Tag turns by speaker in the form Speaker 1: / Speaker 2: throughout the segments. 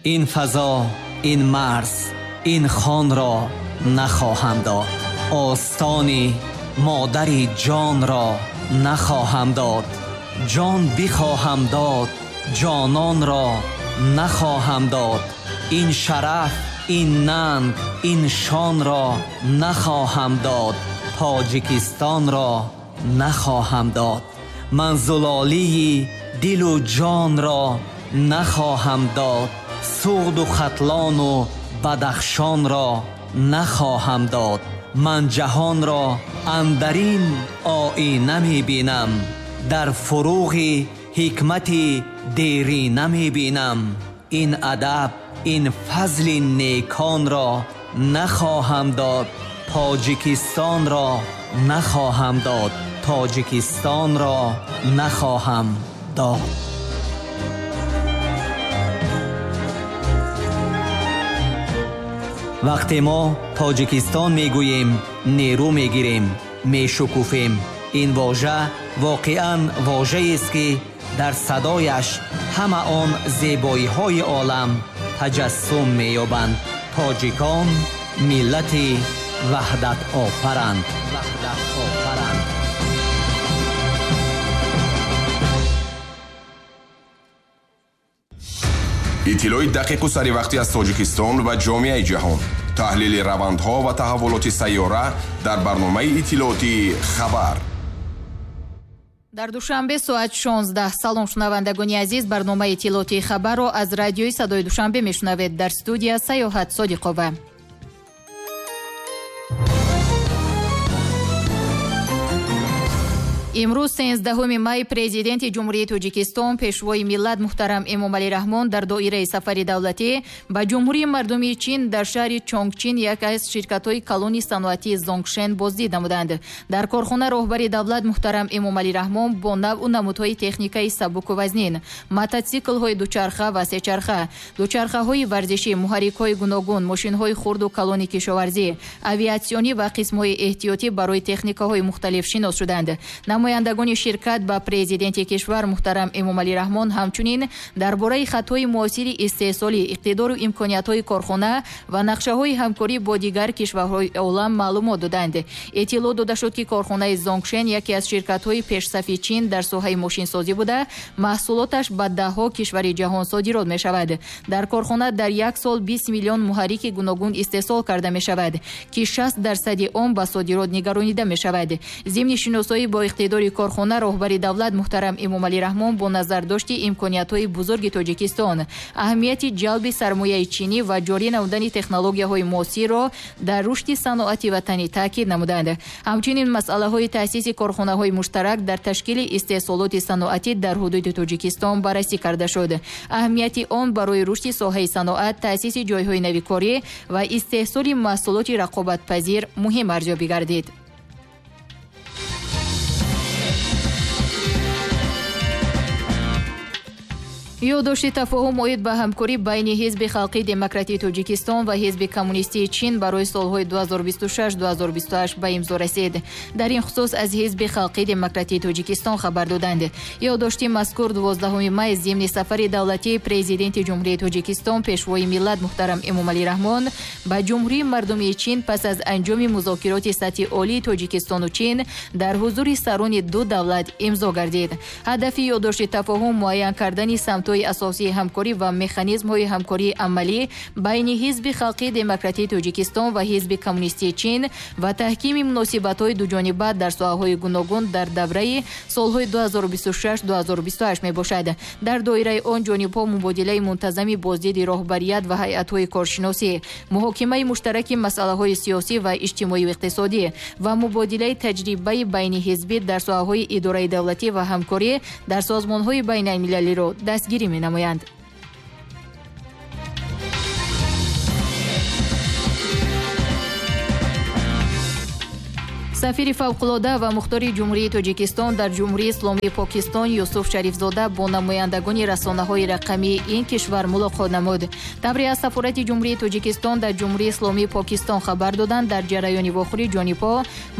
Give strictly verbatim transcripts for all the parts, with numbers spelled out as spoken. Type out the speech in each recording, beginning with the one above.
Speaker 1: Ин фазо, ин марз, ин хонро нахоҳам дод. Остони модари ҷонро нахоҳам дод. Ҷон бихоҳам дод, ҷононро нахоҳам дод. Ин шараф, ин нанг, ин шонро нахоҳам дод. Тоҷикистонро нахоҳам дод. Ман зулолии дилу ҷонро нахоҳам дод. Суғду Хатлону Бадахшонро нахоҳам дод. Ман ҷаҳонро андарин оина мебинам, дар фуруғи ҳикмати дерина мебинам. Ин адаб, ин фазли неконро нахоҳам дод. Тоҷикистонро нахоҳам дод. Тоҷикистонро нахоҳам дод. Вақте мо Тоҷикистон мегӯем, нерӯ мегирем, мешукуфем. Ин вожа воқеан вожаест, ки дар садояш ҳама он зебоиҳои олам таҷассум меёбанд. Тоҷикон миллати ваҳдатофаранд. Ваҳдатофаранд.
Speaker 2: Иттилои дақиқу саривақтӣ аз Тоҷикистон ва ҷомеаи ҷаҳон, таҳлили равандҳо ва таҳаввулоти сайёра дар барномаи иттилоотии «Хабар».
Speaker 3: Дар Душанбе соат шонздаҳ. Салом, шунавандагони азиз, барномаи иттилоотии «Хабарро аз радиои Садои Душанбе мешунавед. Дар студия Саёҳат Содиқова. Имрӯз сенздаҳуми май президенти Ҷумҳурии Тоҷикистон, пешвои миллат муҳтарам Эмомалӣ Раҳмон дар доираи сафари давлатӣ ба Ҷумҳурии мардумии Чин дар шаҳри Чонгчин яке аз ширкатҳои калони саноатии Зонгшен боздид намуданд. Дар корхона роҳбари давлат муҳтарам Эмомалӣ Раҳмон бо навъу намудҳои техникаи сабуку вазнин, мототсиклҳои дучарха ва сечарха, дучархаҳои варзишӣ, муҳаррикҳои гуногун, мошинҳои хурду калони кишоварзӣ, авиатсионӣ ва қисмҳои эҳтиётӣ барои техникаҳои мухталиф шинос шуданд. Намояндагони ширкат ба президенти кишвар муҳтарам Эмомалӣ Раҳмон ҳамчунин дар бораи хатҳои муосири истеҳсолӣ, иқтидору имкониятҳои корхона ва нақшаҳои ҳамкорӣ бо дигар кишварҳои олам маълумот доданд. Иттилоъ дода шуд, ки корхонаи Зонгшен яке аз ширкатҳои пешсафи Чин дар соҳаи мошинсозӣ буда, маҳсулоташ ба даҳҳо кишвари ҷаҳон содирот мешавад. Дар корхона дар як сол бист миллион муҳаррики гуногун истеҳсол карда мешавад, ки шаст дарсади он ба содирот нигаронида мешавад. Зимни шиносоӣ бо иқтидори корхона роҳбари давлат муҳтарам Эмомалӣ Раҳмон бо назардошти имкониятҳои бузурги Тоҷикистон, аҳамияти ҷалби сармояи чинӣ ва ҷорӣ намудани технологияҳои муосирро дар рушди саноати ватанӣ таъкид намуданд. Ҳамчунин масъалаҳои таъсиси корхонаҳои муштарак дар ташкили истеҳсолоти саноатӣ дар ҳудуди Тоҷикистон баррасӣ карда шуд. Аҳамияти он барои рушди соҳаи саноат, таъсиси ҷойҳои навикорӣ ва истеҳсоли маҳсулоти рақобатпазир муҳим арзёбӣ гардид. Ёддошти тафоҳум оид ба ҳамкорӣ байни Ҳизби Халқии Демократии Тоҷикистон ва Ҳизби Коммунистии Чин барои солҳои ду ҳазору бисту шаш ду ҳазору бисту ҳашт ба имзо расид. Дар ин хусус аз Ҳизби Халқии Демократии Тоҷикистон хабар доданд. Ёддошти мазкур дувоздаҳуми май зимни сафари давлатии президенти Ҷумҳурии Тоҷикистон, пешвои миллат муҳтарам Эмомалӣ Раҳмон ба Ҷумҳурии мардумии Чин пас аз анҷоми музокироти сатҳи олии Тоҷикистону Чин дар ҳузури сарони ду давлат имзо гардид. Ҳадафи ёддошти тафоҳум муайян кардани самтҳои асосии ҳамкорӣ ва механизмҳои ҳамкории амалӣ байни Ҳизби Халқии Демократии Тоҷикистон ва Ҳизби Коммунистии Чин ва таҳкими муносибатҳои дуҷониба дар соҳаҳои гуногун дар давраи солҳои ду ҳазору бисту шаш ду ҳазору бисту ҳашт мебошад. Дар доираи он ҷонибҳо мубодилаи мунтазами боздиди роҳбарият ва ҳайатҳои коршиносӣ, муҳокимаи муштараки масъалаҳои сиёсӣ ва иҷтимоию иқтисодӣ ва мубодилаи таҷрибаи байниҳизбӣ дар соҳаҳои идораи давлатӣ ва ҳамкорӣ дар созмонҳои байналмилалиро дастгирӣ менамоянд. Сафири фавқулода ва мухтори Ҷумҳурии Тоҷикистон дар Ҷумҳурии Исломии Покистон Юсуф Шарифзода бо намояндагони расонаҳои рақамии ин кишвар мулоқот намуд. Тавре аз сафорати Ҷумҳурии Тоҷикистон дар Ҷумҳурии Исломии Покистон хабар доданд, дар ҷараёни вохӯрӣ ҷонибҳо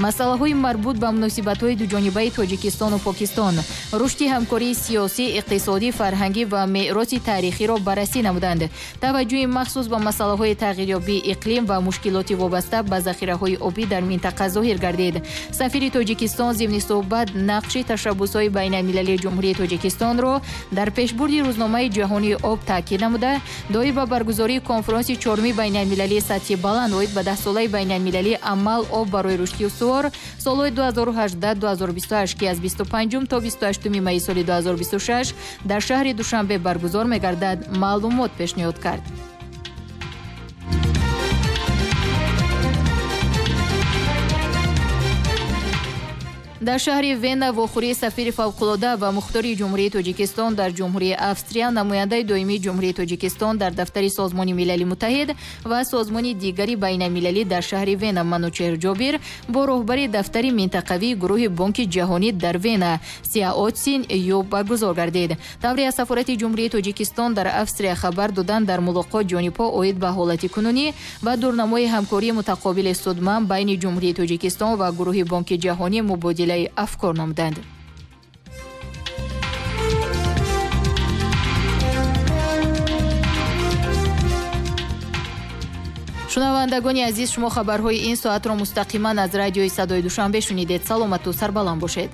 Speaker 3: масъалаҳои марбут ба муносибатҳои дуҷонибаи Тоҷикистону Покистон, рушди ҳамкории сиёсӣ, иқтисодӣ, фарҳангӣ ва мероси таърихиро баррасӣ намуданд. Таваҷҷӯҳи махсус ба масъалаҳои тағйирёбии иқлим ва мушкилоти вобаста ба захираҳои обӣ дар минтақа зоҳир гардид. Сафири Тоҷикистон зимни суҳбат нақши ташаббусҳои байналмилалии Ҷумҳурии Тоҷикистонро дар пешбурди рӯзномаи ҷаҳонии об таъкид намуда, доир ба баргузории конфронси чоруми байналмилалии сатҳи баланд оид ба даҳсолаи байналмилалии амал об барои рушди устувор солҳои ду ҳазору ҳаждаҳ ду ҳазору бисту ҳашт, ки аз бисту панҷум то бисту ҳаштуми майи соли ду ҳазору бисту шаш дар шаҳри Душанбе баргузор мегардад, маълумот пешниҳод кард. Дар шаҳри Вена вохӯрии сафири фавқулода ва мухтори Ҷумҳурии Тоҷикистон дар Ҷумҳурии Австрия, намояндаи доимии Ҷумҳурии Тоҷикистон дар дафтари Созмони Милали Муттаҳид ва созмони дигари байналмилалӣ дар шаҳри Вена Манучеҳр Ҷобир бо роҳбари дафтари минтақавии гурӯҳи Бонки Ҷаҳонӣ дар Вена Сиаотсин Ю баргузор гардид. Тавре аз сафорати Ҷумҳурии Тоҷикистон дар Австрия хабар доданд, дар мулоқот ҷонибҳо оид ба ҳолати кунунӣ ва дурнамои ҳамкории мутақобили судманд байни Ҷумҳурии Тоҷикистон ва гурӯҳи Бонки Ҷаҳонӣ мубодила афкор намуданд. Шунавандагони азиз, шумо хабарҳои ин соатро мустақиман аз радиои Садои Душанбе шунидед. Саломату сарбаланд бошед.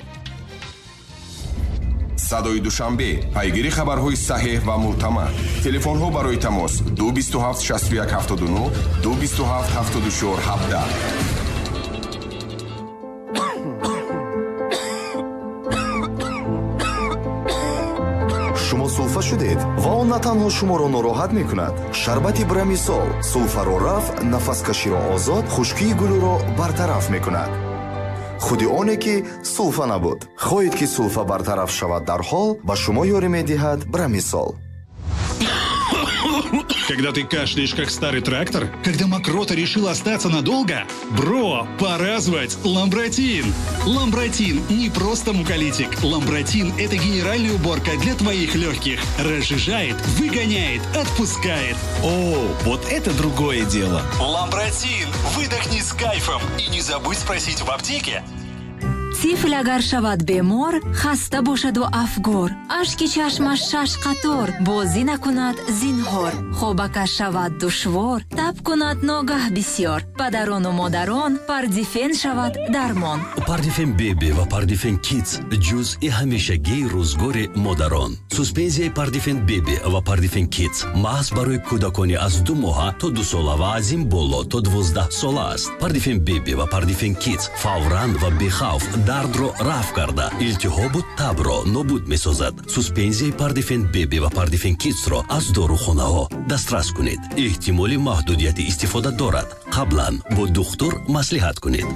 Speaker 2: Садои Душанбе, пайгири хабарҳои саҳеҳ ва мӯътамад. Телефонҳо барои тамос ду бисту ҳафт шасту як ҳафтоду нӯҳ, ду бисту ҳафт ҳафтоду чор ҳабдаҳ.
Speaker 4: Шумо сулфа шудед ва он на танҳо шуморо нороҳат мекунад. Шарбати Брамисол сулфаро рафъ, нафаскаширо озод, хушкии гулӯро бартараф мекунад. Худи оне ки сулфа набуд. Хоҳед ки сулфа бартараф шавад дар ҳол, ба шумо ёрӣ медиҳад Брамисол.
Speaker 5: Когда ты кашляешь, как старый трактор? Когда мокрота решила остаться надолго? Бро, пора звать Ламбратин! Ламбратин не просто муколитик. Ламбратин – это генеральная уборка для твоих легких. Разжижает, выгоняет, отпускает.
Speaker 6: О, вот это другое дело!
Speaker 5: Ламбратин! Выдохни с кайфом и не забудь спросить в аптеке.
Speaker 7: Тифл агар шавад бемор, хаста бошаду афгор, ашки чашмаш шаш қатор, бозӣ накунад зинҳор, хобакаш шавад душвор, таб кунад ногаҳ бисёр, падарону модарон Пардифен шавад дармон.
Speaker 8: Пардифен Беби ва Пардифен Кидс ҷузъи ҳамешагии рӯзгори модарон. Суспензияи Пардифен Беби ва Пардифен Кидс маҳз барои кӯдакони аз ду моҳа то ду сола ва аз ин боло то дувоздаҳ сола аст. Пардифен Беби ва Пардифен Кидс фавран ва бехавф дардро рафъ карда, илтиҳобу табро нобуд месозад. Суспензияи Пардифен Беби ва Пардифен Кидсро аз дорухонаҳо дастрас кунед. Эҳтимоли маҳдудияти истифода дорад. Қаблан бо духтур маслиҳат кунед.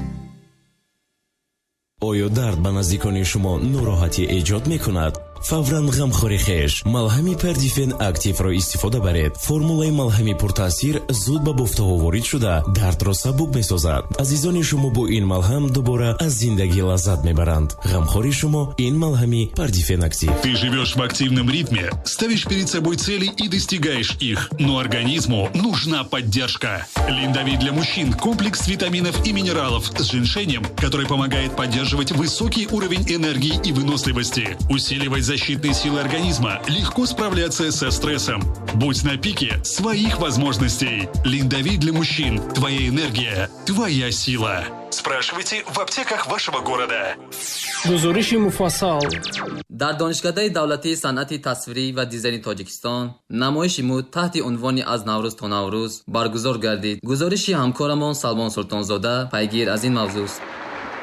Speaker 9: Оё дард ба наздикони шумо нороҳатӣ эҷод мекунад? Фавран ғамхори хеш малҳами Пардифен Активро истифода баред. Формулаи малҳами пуртаъсир зуд ба бофтаҳо ворид шуда, дардро сабук месозад. Азизони шумо бо ин малҳам дубора аз зиндагӣ лаззат мебаранд. Ғамхори шумо ин малҳами Пардифен Актив.
Speaker 5: Ты живешь в активном ритме, ставишь перед собой цели и достигаешь их. Но организму нужна поддержка. Линдовит для мужчин – комплекс витаминов и минералов с женьшенем, который помогает поддерживать высокий уровень энергии и выносливости, усиливать защитные силы организма, легко справляться со стрессом. Будь на пике своих возможностей. Линдовит для мужчин. Твоя энергия, твоя сила. Спрашивайте в аптеках вашего города.
Speaker 10: Гузориши муфассал.
Speaker 11: Дар Донишкадаи давлатии санъати тасвирӣ ва дизайни Тоҷикистон намоиши мӯд таҳти унвони аз Наврӯз то Наврӯз баргузор гардид. Гузориши ҳамкорамон Салмон Султонзода пайгир аз ин мавзӯст.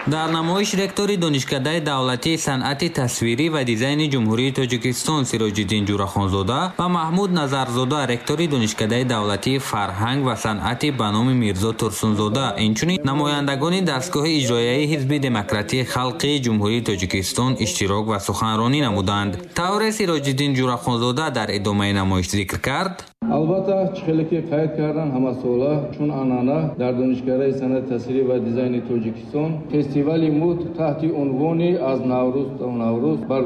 Speaker 12: Дар намоиш ректори Донишкадаи давлатии санъати тасвирӣ ва дизайни Ҷумҳурии Тоҷикистон Сироҷиддин Ҷурахонзода ва Маҳмуд Назарзода, ректори Донишкадаи давлатии фарҳанг ва санъати ба номи Мирзо Турсунзода, инчунин намояндагони дастгоҳи иҷроияи Ҳизби демократии халқии Ҷумҳурии Тоҷикистон иштирок ва суханронӣ намуданд. Тавре Сироҷиддин Ҷурахонзода дар идомаи намоиш зикр кард:
Speaker 13: Албатта, чӣ хеле ки қайд кардан, ҳамасола чун анъана дар Донишкадаи санъати тасвирӣ ва дизайни Тоҷикистон фестивали мӯд таҳти унвони «Аз Наврӯз то Наврӯз»